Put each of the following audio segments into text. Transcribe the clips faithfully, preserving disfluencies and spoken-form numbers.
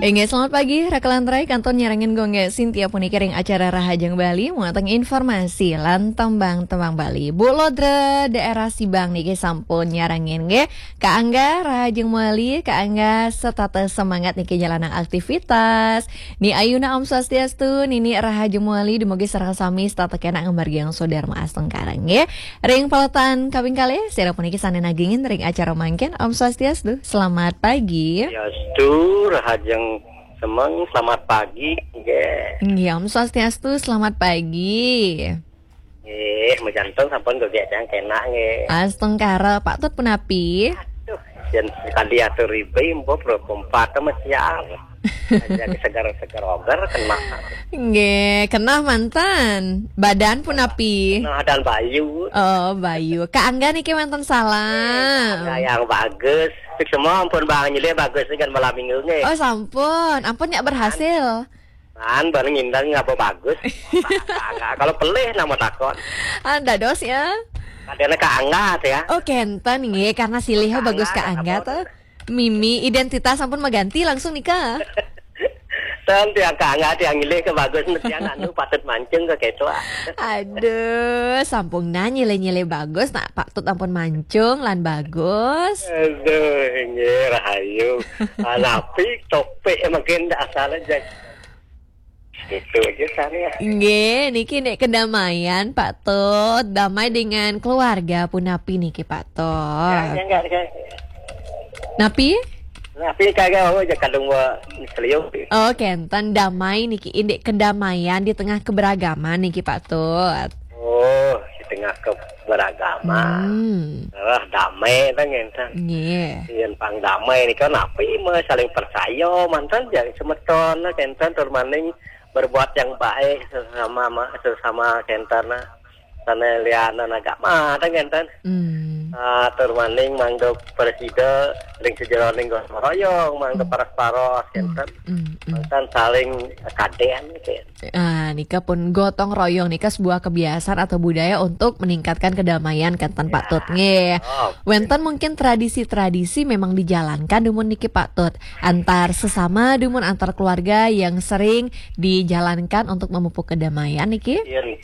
Inggih, selamat pagi, Raka lan Rai, kantun nyarengin Gung Sintia puniki ring acara Rahajeng Bali, wantah informasi lan tembang-tembang Bali. Bu Lodra daerah Sibang niki sampun nyarengin nggih. Kak Angga, Rahajeng Bali, Kak Angga setata semangat niki jalanang aktivitas. Ni Ayuna, Om Swastiastu, Nini Rahajeng Bali, dumugi sareng sami setata kena ngamargiang swadharma astungkara nggih. Ring paletan kaping kalih, sira puniki sane nagingin ring acara mangkin. Om Swastiastu, selamat pagi. Swastiastu, Rahajeng Semeng, selamat pagi. Nggih. Nggih, Om Swastiastu, selamat pagi. Nggih, majanten sampun gogek tiang kena nggih. Astungkara, Pak Tut punapi? Aduh, yen sekali atur ribe, mbok pro kompat mesiar. Aja segar-segar oger kena. Nggih, kena mantan. Badan punapi? Nah, dan Bayu. Oh, Bayu. Kak Angga niki wonten salam. Angga yang bagus. Fik semua ampun Bang Nyilih bagus kan malam minggu nggih. Oh, sampun. Ampun nyak berhasil. Kan bareng ngindang apa bagus. Angga kalau pelih nama takon. Ah, dados ya. Kadene Kak Angga ya. Oh, kenten nggih, karena silih Kak bagus Angga, Kak Angga apa? Tuh. Mimi, identitas sampun maganti langsung nika. Ten tiang Kak Angga, tiang Nyilih ke bagus, tiang anu patut mancung ke ketua. Aduh, sampun nah nyilih-nyilih bagus, nak patut ampun mancung lan bagus. Aduh, nggih rahayu. Alapi topik mungkin asal aja. Itu aja sana ya. Nggih, niki nek kedamaian Pak Tut, damai dengan keluarga punapi niki Pak Tut. Ya, ya, enggak, enggak. Napi? Napi kagak, oh, aja kadung wa seliu. Oh, kenten damai niki indik kedamaian di tengah keberagaman niki Pak Tut. Oh, di tengah keberagaman. Hmm. Wah, damai ta ngenten. Nggih. Yen pang damai nika napi meh saling percaya manten jari semeton kenten tur maning berbuat yang baik sesama ma-, sesama kenten. Sane lianan agama ta ngenten. Hmm. Ah, tur maning mangda presida ring sejeroning gotong royong, mangda paras-paros kenten. Hmm, hmm. Manten saling kaden kenten. Ah, nika pun gotong royong nika sebuah kebiasaan atau budaya untuk meningkatkan kedamaian kenten Pak Tut nggih. Oh. Wenten mungkin tradisi-tradisi memang dijalankan dumun niki Pak Tut. Antar sesama dumun antar keluarga yang sering dijalankan untuk memupuk kedamaian niki. Yen,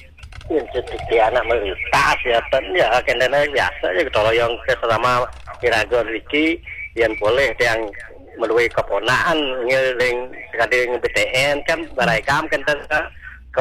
yen sedikit anak melintas ya ten ya kendene biasa ya gotong royong ke sesama iraga riki yen boleh yang melalui keponakan ngiring sekading B T N kan baraikam kenten